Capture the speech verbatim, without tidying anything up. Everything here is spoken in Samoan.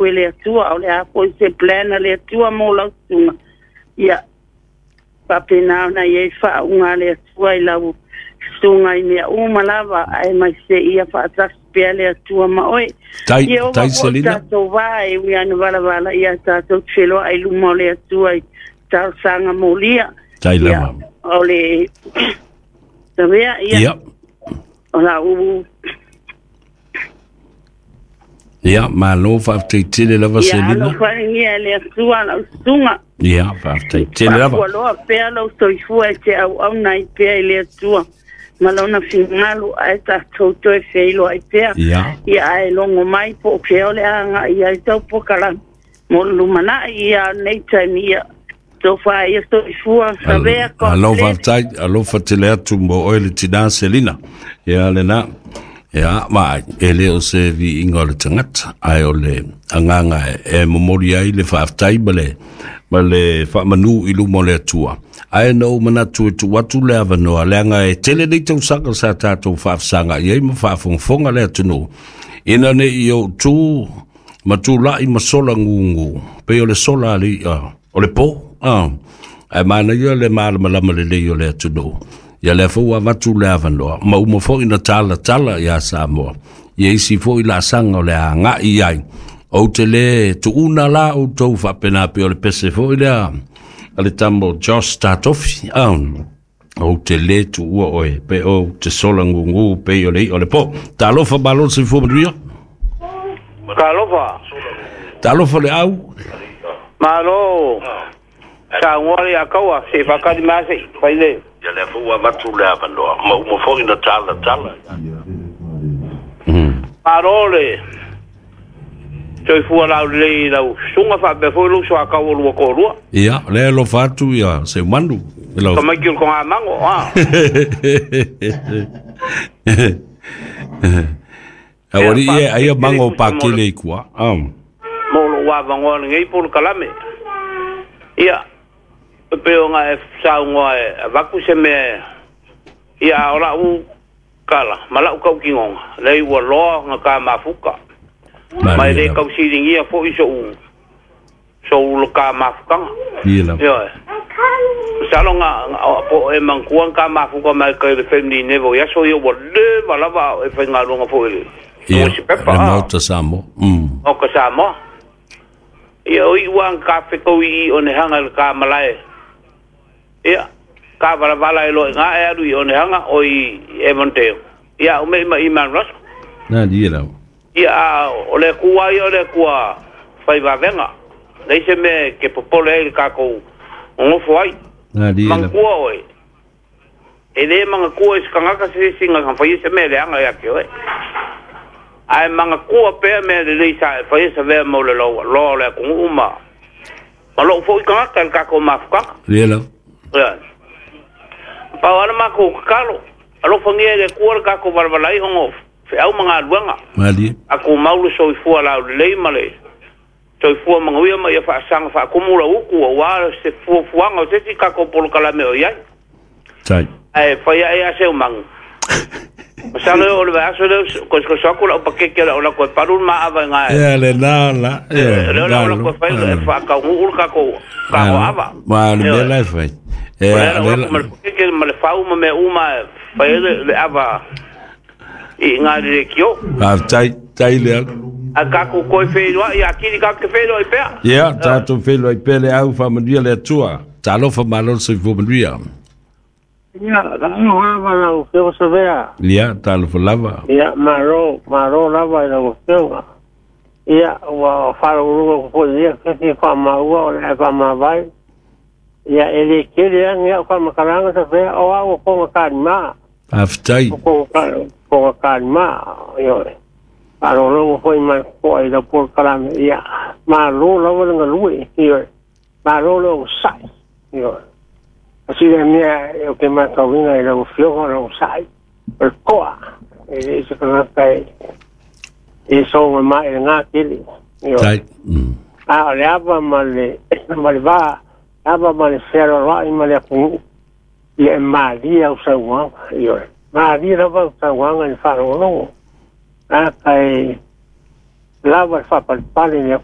E le Atua, o le a foi se plan a le Atua mo lau susuga. Ia faapena ona i ai faauga a le Atua i lau susuga i mea uma lava, ae mai se ia faatasi pea le Atua ma oe. Tai, Ia ova tai foi Selina. Tatou va e ui ana valavala ia tatou te feloai i luma o le Atua i talosaga molia. Tai Ia lava. O le Savea ia Ia. o lau Ia, malo faafetai lava ia Selina. Alofagia e le Atua lau susuga. Ia, faafetai tele lava. Faafualoa pea lou soifua e te auauna ai pea i le Atua ma lona finagalo ae tatou toe feiloai pea. Ia. Ia ae logo mai po o fea o le agai ai tau polokalame mo le lumanai ia nei taimi ia tofa ia soifua Savea God Alo bless. Faafetai, alofa tele atu mo oe le tina Selina. Ia lena. Ia, ma e le o se viiga o le tagata, ae o le agaga e momoli ai le faafetai ma le ma le faamanū i luma o le Atua. Ae na ou manatu e tuu atu le avanoa, leaga e tele nei tausaga sa tatou faafesaga i ai ma faafogafoga le atunuu. Ina ne i ou tu ma tula'i ma sola gugu, pei o le sola a le i'a o le pō. Ah. Ae manaia le malamalama lelei o le atunuu. Ia lea foi ua avatu le avanoa, ma uma foi na talatala iā Samoa. Ia isi foi laasaga o le aga'i ai. Ou te lē tuuna la outou faapena pei o le pese foi lea a le tama o Josh Tatofi. Ah. Ou te lē tuua oe pe ou te sola gugu pei o le i'a o le pō. Talofa malo le soifua manuia. Talofa. Talofa le au. Malo. Saunoa le akaua, se fakali mase, faile. Ia lea foi ua avatu le avanoa, ma uma foi na talatala. Mm. Malo le soifua laulelei i lau susuga faapea foi lou soakaua lua toalua. Ia, lea alofa atu ia Seumanu. I lau Tamaiti o le togamago, a. Aualii e Ia, aia faafetai mago tele tusa mo le pakele i kua. Um. mo lou avanoa lenei polokalame. Ia, e pei ona e saunoa e avatu se mea ia o lau kala, ma lau tautinoga, lea ua loa ona ka mafuka. Ma e Malie le lava. tausiligia foi so'u so'u ka mafukaga. Ia lava. Ioe. Masalo ga ga- po e manatua ka mafuka mai kai le family nevo i aso ia ua leva lava e faigaluega foi le Ia, nusipepa le a. Maota Samoa. Mm. O ka Samoa. Ia o i'u aga ka fetau i i Onehanga i le ka malae. Ia, ka valavala e loe gā e alu i Onehanga o i Avondale. Ia, o mei ma i Mount Russell. Na ia lava. Ia, a, o le Atua ia o le Atua faivavenga. Leai se mea e ke popole ai le kakou nofo ai. Na ia lava. Manatua oe. E lē manatua i se tagata se isi ga faia se mea leaga ia te oe. Ae manatua pea mea lelei sa e faia sa vea mo le loa loa o le atunuu ma ma lou fo'i tagata i le tatou mafukaga. Ia lava. Ia. Pau ana makou tatalo. Alofagia e le Atua le tatou valavalai ona o feau ma galuega. Malie. Atumau le soifua laulelei ma le soifua manuia ma ia faasaga faakumu lau utu auā se fuafuaga o se isi tatou polokalame o i ai. Tai. Ae fai ae a seu magu. Masalo e o le vaiaso lea kosokoso atu lau pakeke o le au lako e palu le maava i gae. Ia le na la. Ia. Lea o le au lako e fai e faatauguu le tatou tatou ava. Ma le mea Ioe. la e fai. O Ia, lea lau le lako ma le pakeke ma le fau ma mea uma e fai ai le le ava i gā le lekiō. Faafetai, tai le au. Ae tatou toe feiloai atili tatou te feiloai pea. Ia, tatou feiloai pea le au faamanuia le Atua. Talofa malo le soifua manuia. Ia, alofa lava lau Afioga Savea. Ia, talofa lava. Ia, malo, malo lava i lau Afioga. Ia, ua faalogologo foi ia kesi faamaua o le ae faamavae. Ia, e le tele lava ni au faamatalaga Savea, o au o koga kalima. Faafetai. O koga, koga kalima, ioe. Faalogologo foi ma totoa i lau polokalame. Ia, malo lava le galue, ioe. Malo le ogasai, ioe. Asile mea e o ke matauina i lau afioga o le ogasai. O le toa, e le se tagata e e soga mai i le gatele. Ioe. Tai. Mm. A o le ava ma le ma le va, ava ma le fealoaloai ma le atunuu, ia e malie au sauaga, ioe. Malie lava au sauaga i le faalogologo. A kai Lava le faapalepale i le